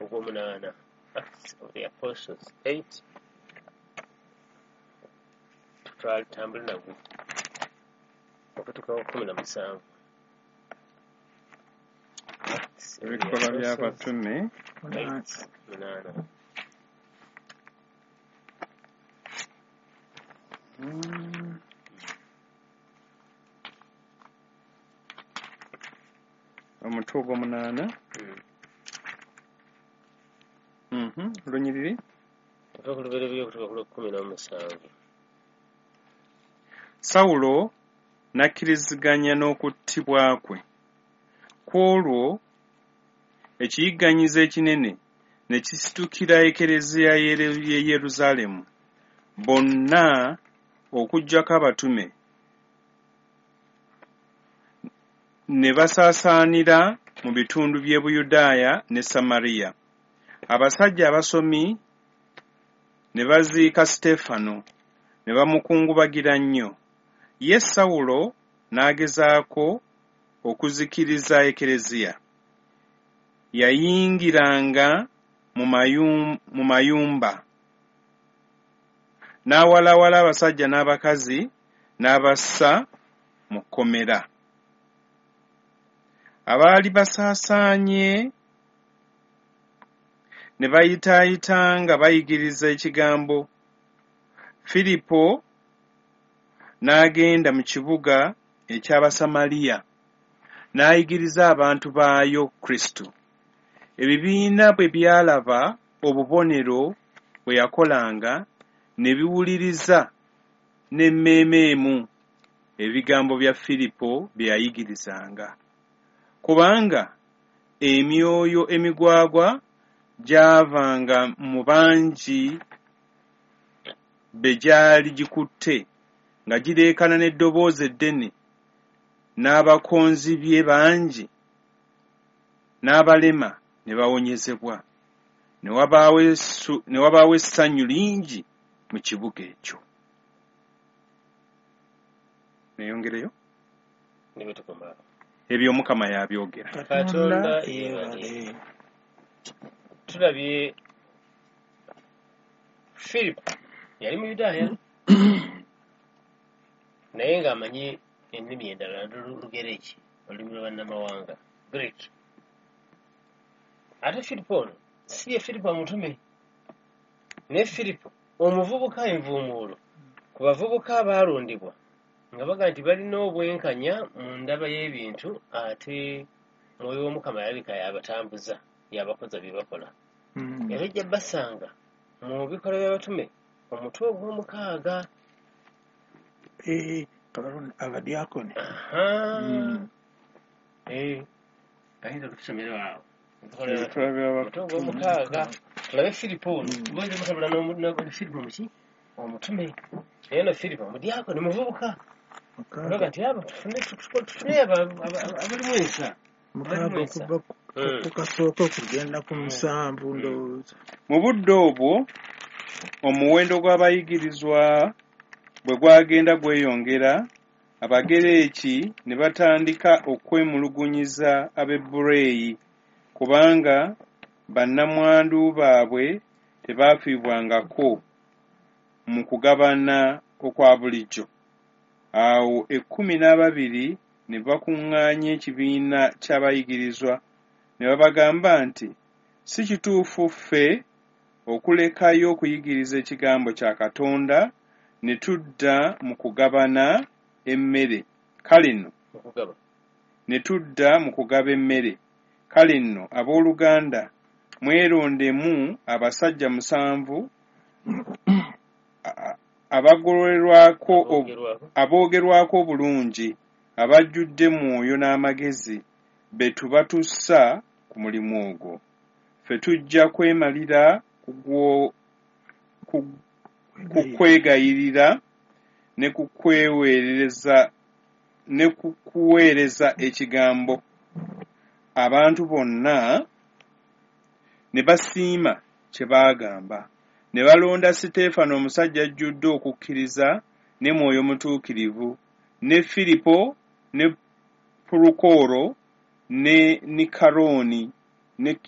ogw'omunaana. Acts of the Apostles 8, tutambule nagwo okutuuka ku 17. Acts of the Ebikolwa Apostles by'Abatume 8, 8. Omutwe ogw'omunaana. Lunyiriri. Tuva ku lubereberye okutuuka ku lw'okukkumi n'omusanvu. Sawulo n'akkiriziganya n'okuttibwa kwe. Ku olwo ekiyigganyizo ekinene ne kisitukira Ekereziya y'e Yerusaalemu. Bonna okuggyako abatume ne basaasaanira mu bitundu by'e Buyudaaya ne Samariya. Abasajja abasomi ne baziika Siteefano ne bamukungubagira nnyo. Ye Sawulo n'agezaako okuzikiriza Ekereziya. Yayingiranga mu mayumba n'awalawala abasajja n'abakazi n'abassa mu kkomera. Abaali basaasaanye ne bayitaayita nga bayigiriza ekigambo. Firipo n'agenda mu kibuga eky'Abasamaliya n'ayigiriza abantu baayo Kristo. Ebibiina bwe byalaba obubonero bwe yakolanga, ne biwuliriza n'emmeeme emu ebigambo bya Firipo bye yayigirizanga. Kubanga emyoyo emigwagwa gyavanga mu bangi be gyali gikutte nga gireekaana n'eddoboozi eddene, n'abakonzibye bangi n'abalema ne bawonyezebwa. Ne wabaawo essanyu lingi mu kibuga ekyo. Neyongereyo? Ne bwe tukoma awo. Ebyo Omukama yabyogera. Katonda yeebale. Tulabye Philip yali Muyudaaya naye ng'amanyi ennimi endala, Lugereki, olulimi lwa bannamawanga, Greek. Ate Firipo ono si ye Firipo omutume, naye Firipo omuvubuka envuumuulo ku bavubuka abaalondebwa nga baga nti balina obwenkanya mu ndaba y'ebintu, ate Mwoyo w'Omukama yalabika yabatambuza, yabakoza bye bakola. Era ojja basanga mu Bikolwa by'Abatume omutwe ogw'omukaaga. Abadyakoni. Ayinza okutusomera awo? Ebikolwa Omutwe ogw'omukaaga, tulabe Firipo ono. Boyinza mutabula Firipo muki omutume, naye no Firipo omudyakoni muvubuka. Olaga nti abo tufune abalimu ensa. Mukaaga okuva ku kasooka okugenda ku 7, ndowooza. Mu budde obwo omuwendo gw'abayigirizwa bwe gwagenda gweyongera, Abagereeki ne batandika okwemulugunyiza Abaebureeyi kubanga bannamwandu baabwe tebaafiibwangako mu kugabana okwa bulijjo. Awo 12 ne bakuŋŋaanya ekibiina ky'abayigirizwa ne babagamba nti, "Si kituufu ffe okulekayo okuyigiriza ekigambo kya Katonda ne tudda mu kugabana emmere. Kale nno ne tudda mu kugaba emmere. Kale nno abooluganda, mwerondemu abasajja 7 aboogerwako obulungi, abajjudde Mwoyo n'amagezi, be tuba tussa ku mulimu ogwo. Ffe tujja kwemalira ku kwegayirira ne ku kuweereza ekigambo." Abantu bonna ne basiima kye baagamba. Ne balonda Siteefano, omusajja ajjudde okukkiriza ne Mwoyo Mutuukirivu, ne Firipo ne Pulukoro ne Nikalooni ne